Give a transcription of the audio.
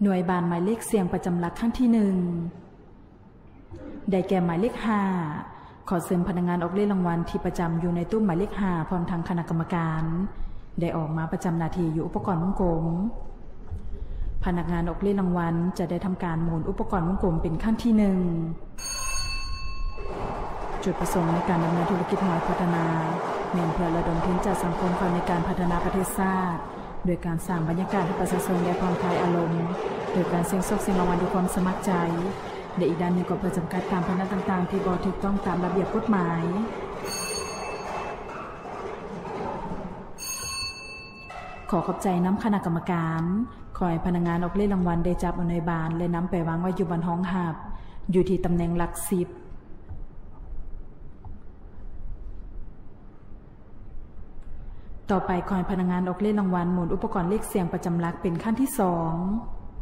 ໜ່ວຍບານໝາຍເລກສ່ຽງປະຈຳຫຼັກຄັ້ງທີໜຶ່ງ ໄດ້ແກ່ໝາຍເລກຫ້າ. ຂໍເຊີນພະນັກງານອອກເລກລາງວັນທີ່ປະຈຳຢູ່ໃນຕູ້ໝາຍເລກຫ້າ ພ້ອມທັງຄະນະກຳມະການ ໄດ້ອອກມາປະຈຳໜ້າທີ່ຢູ່ອຸປະກອນວົງກົມ. ພະນັກງານອອກເລກລາງວັນຈະໄດ້ທຳການໝູນອຸປະກອນວົງກົມເປັນຄັ້ງທີໜຶ່ງ. ຈຸດປະສົງໃນການດຳເນີນທຸລະກິດຫວຍພັດທະນາ ແມ່ນເພື່ອລະດົມທຶນຈາກສັງຄົມເຂົ້າໃນການພັດທະນາປະເທດຊາດ ໂດຍການສ້າງບັນຍາກາດໃຫ້ປະຊາຊົນໄດ້ຜ່ອນຄາຍອາລົມ ໂດຍການສ່ຽງໂຊກສ່ຽງລາງວັນດ້ວຍຄວາມສະໝັກໃຈ ແລະ ອີກດ້ານໜຶ່ງກໍເພື່ອຈຳກັດການພະນັນຕ່າງໆທີ່ບໍ່ຖືກຕ້ອງຕາມລະບຽບກົດໝາຍ. ຂໍຂອບໃຈນຳຄະນະກຳມະການ. ຂໍໃຫ້ພະນັກງານອອກເລກລາງວັນໄດ້ຈັບເອົາໜ່ວຍບານ ແລະ ນຳໄປວາງໄວ້ຢູ່ບ່ອນຮອງຮັບ ຢູ່ທີ່ຕຳແໜ່ງຫຼັກສິບ. ຕໍ່ໄປ ຂໍໃຫ້ພະນັກງານອອກເລກລາງວັນໝູນອຸປະກອນເລກສ່ຽງປະຈຳຫຼັກເປັນຄັ້ງທີສອງ.